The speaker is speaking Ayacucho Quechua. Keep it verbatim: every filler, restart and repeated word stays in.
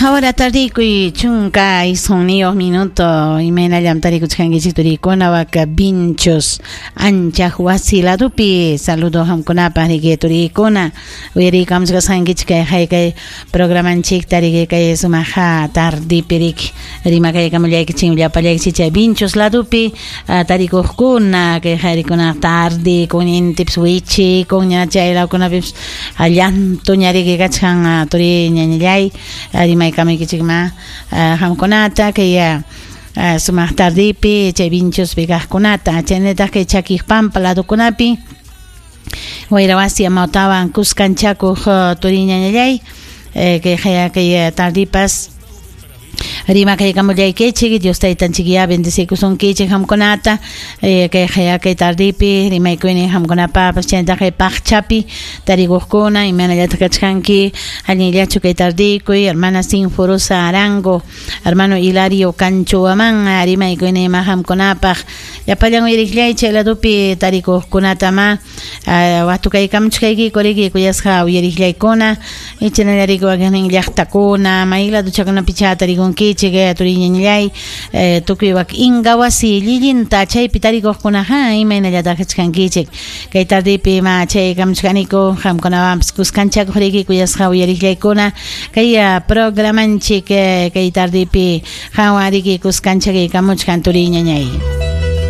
Ahora tardikuy chunka isqunniyoq minuto imaynallam tarikuchkankichik turikuna waka Vinchos anchaq wasi ladupi saludo hamkunapaq riki turikuna uyariykamuchkasqankichik kay haykay programanchikta riki kay sumaqa tardipi riki rimakaykamullaykichik llapallaykichik chay Vinchos ladupi tarikuqkuna kay hayrikuna tardi kun intipis wichikun ña chay lawkunapipis llantuña riki kachkan turi ñañallay rimaykamuykichikma hamkunata kay sumaq tardipi chay Vinchospi kaqkunata chaynataq kay Chakiqpampa ladukunapi wayrawasi amawtawan kuskanchakuq turi ñañallay kay haya kay tardipas rimakaykamullaykichik Dios taytanchik bendecikusunkichik hamkunata kay haya kay tardipi rimaykuynin hamkunapapas chaynataq kay paqchapi tarikuqkuna imaynallataq kachkanki allinllachu kay tardikuy hermana Sinforosa Arango hermano Hilario Canchoaman rimaykuynin ima hamkunapaq llapallan uyariqllay chay ladupi tarikuqkunatama waqtukaykamuchkaykiku riki kuyasqa uyariqllaykuna ichanallariku wakinnin llaqtakuna may laduchakunapi cha tarikunkichik turiñañallay tukuy wak inga wasi llillinta chaypi tarikuqkunaqa imaynallataq kachkankichik kay tardipi ma chay kamuchkaniku qamkunawanpas kuskanchakuq riki kuyasqa uyariqllaykuna kay programanchik kay tardipi qanwan riki kuskanchakaykamuchkan turiñañay.